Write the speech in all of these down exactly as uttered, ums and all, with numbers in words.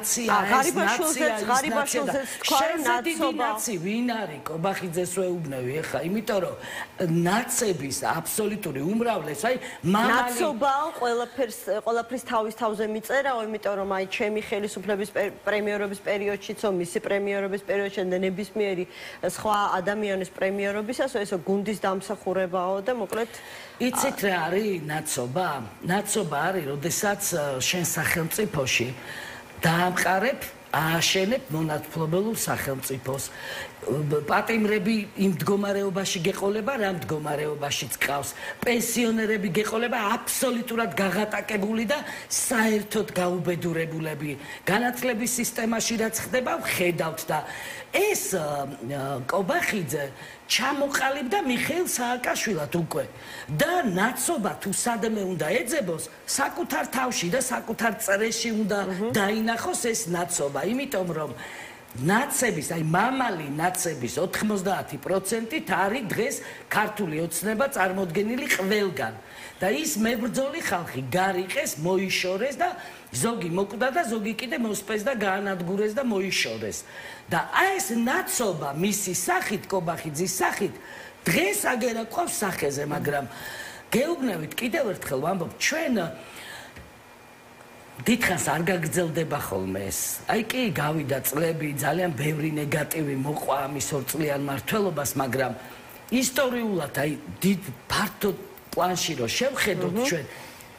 ნაცია ეს ნაცია ღარიბაშვილზეც თქვა ნაცობა ნაცი ვინ არის კობახიძეს ვეუბნევი ეხა იმიტომ რომ ნაცების აბსოლუტური უმრავლესობა აი მამალი ნაცობა ყველაფერს ყველაფრის თავის თავზე მიწერაო იმიტომ რომ აი ჩემი ხელისუფლების პრემიერობის პერიოდშიც მისი პრემიერობის პერიოდში ნებისმიერი სხვა ადამიანის პრემიერობისას ესო გუნდის დამსახურებაო და მოკლედ იცით რა არის ნაცობა ნაცობა არის როდესაც შენ სახელმწიფოში დაამყარებ ააშენებ მონათმფლობელურ სახელმწიფოს პატიმრები იმ მდგომარეობაში გეყოლება რა მდგომარეობაშიც ყავს პენსიონერები გეყოლება აბსოლუტურად გაღატაკებული და საერთოდ გაუბედურებულები განათლების სისტემაში რაც ხდება ვხედავთ და ეს კობახიძე ჩამოყალიბდა მიხეილ სააკაშვილად უკვე და ნაცობა თუ სადმე უნდა ეძებოს საკუთარ თავში და საკუთარ წრეში უნდა დაინახოს ეს ნაცობა იმიტომ რომ ნაცების აი მამალი ნაცების ოთხმოცდაათი პროცენტით არის დღეს ქართული ოცნება წარმოდგენილი ყველგან და ის მებრძოლი ხალხი გარიყეს მოიშორეს და ზოგი მოკვდა და ზოგი კიდე მოსპეს და გაანადგურეს და მოიშორეს და აი ეს ნაცობა მისი სახით კობახიძის სახით დღეს აგერა ყავს სახეზე მაგრამ გეუბნებით კიდევ ერთხელ ვამბობ ჩვენ დიდხანს არ გაგრძელდება ხოლმე ეს. აი კი გავიდა წლები, ძალიან ბევრი ნეგატივი მოყვა ამის ორწლიან მმართველობას, მაგრამ ისტორიულად აი დიდ ფართო პლანში რო შევხედოთ ჩვენ,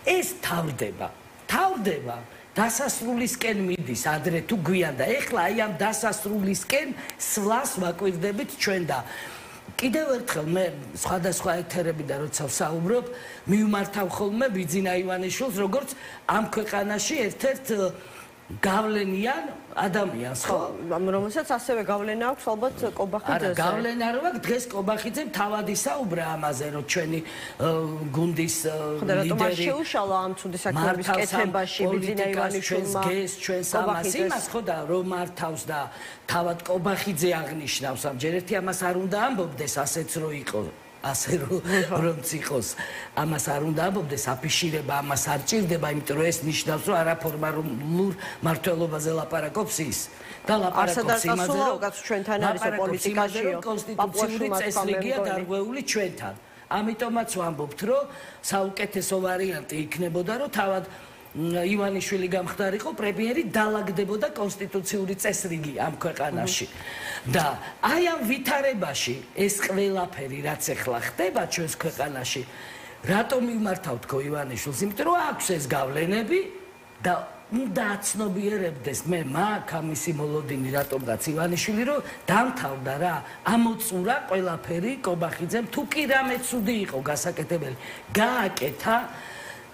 ეს თავდება. თავდება დასასრულისკენ მიდის ადრე თუ გვიან და ეხლა აი ამ დასასრულისკენ სვლას ვაკვირდებით ჩვენ და კიდევ ერთხელ მე სხვადასხვა ეთერებიდან როცა ვსაუბრობ, მივმართავ ხოლმე ბიძინა ივანიშვილს, როგორც ამ ქვეყანაში ერთ-ერთ გავლენიან ადამიანს, ხო? რომელსაც ასევე გავლენა აქვს ალბათ კობახიძეზე. არა, გავლენა რო აქვს დღეს კობახიძემ თავად ისაუბრა ამაზე, რომ ჩვენი გუნდის ლიდერი შეუშალა ამ ცუდი საქმეების კეთებაში ბიძინა ივანიშვილმა გეს ჩვენს ამას იმას ხო და რომ მართავს და თავად კობახიძე აღნიშნავს ამჯერ ერთი ამას არ უნდა ამბობდეს ასეც რო იყო ასე რომ ციხოს ამას არ უნდა ამბობდეს აფიშირება ამას არ ჭირდება იმიტომ რომ ეს ნიშნავს რომ არაფორმალურ მმართველობაზე ლაპარაკობს ის და ლაპარაკობს იმაზე რომ ჩვენთან არის პოლიტიკაშიო კონსტიტუციური წესრიგია დარღვეული ჩვენთან ამიტომაც ვამბობთ რომ საუკეთესო ვარიანტი იქნებოდა რომ თავად ივანიშვილი გამხდარიყო პრემიერი დაალაგდებოდა კონსტიტუციური წესრიგი ამ ქვეყანაში და აი ამ ვითარებაში ეს ყველაფერი რაც ახლა ხდება ჩვენს ქვეყანაში რატომ მიმართავთ ხო ივანიშვილს იმიტომ რომ აქვს ეს გავლენები და უნდა აცნობიერებდეს მე მაგ ამისი მოლოდინი რატომღაც ივანიშვილი რომ დამთავრდა რა ამოწურა ყველაფერი კობახიძემ თუ კი რამე ცუდი იყო გასაკეთებელი გააკეთა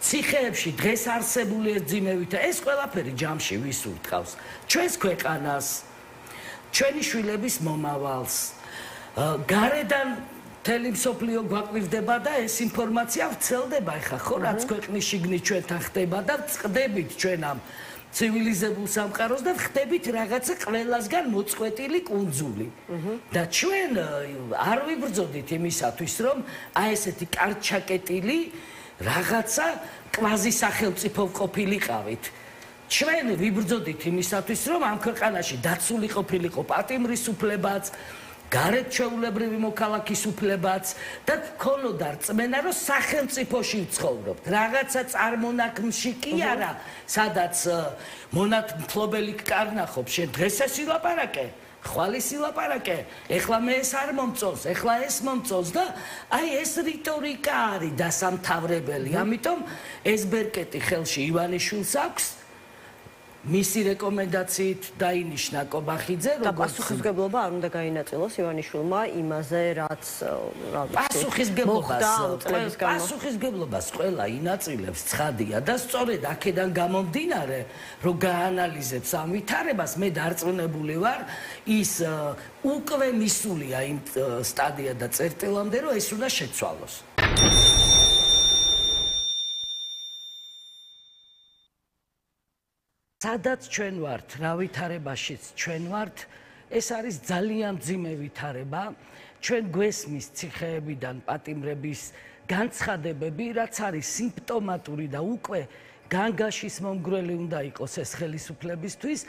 ციხეებში დღეს არსებული ეძიმევით ეს ყველაფერი ჯამში ვის ურთავს ჩვენს ქვეყანას ჩვენი შვილების მომავალს გარედან მთელი მსოფლიო გვაკვირდება და ეს ინფორმაცია ვრცელდება ეხა ხო რაც ქვეყნის შიგნით ჩვენთან ხდება და წყდებით ჩვენ ამ ცივილიზებულ სამყაროს და ხდებით რაღაცა ყველასგან მოწყვეტილი კუნძული და ჩვენ არ ვიბრძოდით იმისათვის რომ აი ესეთი კარჩაკეტილი რაღაცა კვაზი სახელმწიფო ყოფილიყავით. ჩვენ ვიბრძოდით იმისათვის, რომ ამ ქვეყანაში დაცული ყოფილიყო პატიმრის უფლებაც, გარეთ ჩვეულებრივი მოქალაქის უფლებაც და ქონოდა რწმენა, რომ სახელმწიფოში ვცხოვრობთ. რაღაცა წარმონაქმნში კი არა, სადაც მონათმფლობელი კარნახობს, შენ დღეს ეს ილაპარაკე. ხვალის ილაპარაკე, ეხლა მე ეს არ მომწონს, ეხლა ეს მომწონს და აი ეს რიტორიკა არის დასამთავრებელი. ამიტომ ეს ბერკეტი ხელში ივანიშვილს აქვს მისი რეკომენდაციით დაინიშნა კობახიძე და პასუხისმგებლობა არ უნდა გაინაწილოს ივანიშვილმა იმაზე რაც რა ვიცი პასუხისმგებლობას პასუხისმგებლობას ყველა ინაწილებს ცხადია და სწორედ აქედან გამომდინარე რომ გაანალიზებს ამ ვითარებას მე დარწმუნებული ვარ ის უკვე მისულია იმ სტადია და წერტილამდე რომ ეს უნდა შეცვალოს სადაც ჩვენ ვართ, რა ვითარებაშიც ჩვენ ვართ, ეს არის ძალიან მძიმე ვითარება. ჩვენ გვესმის ციხეებიდან პატიმრების განცხადებები, რაც არის სიმპტომატური და უკვე განგაშის მომგვრელი უნდა იყოს ეს ხელისუფლებისთვის.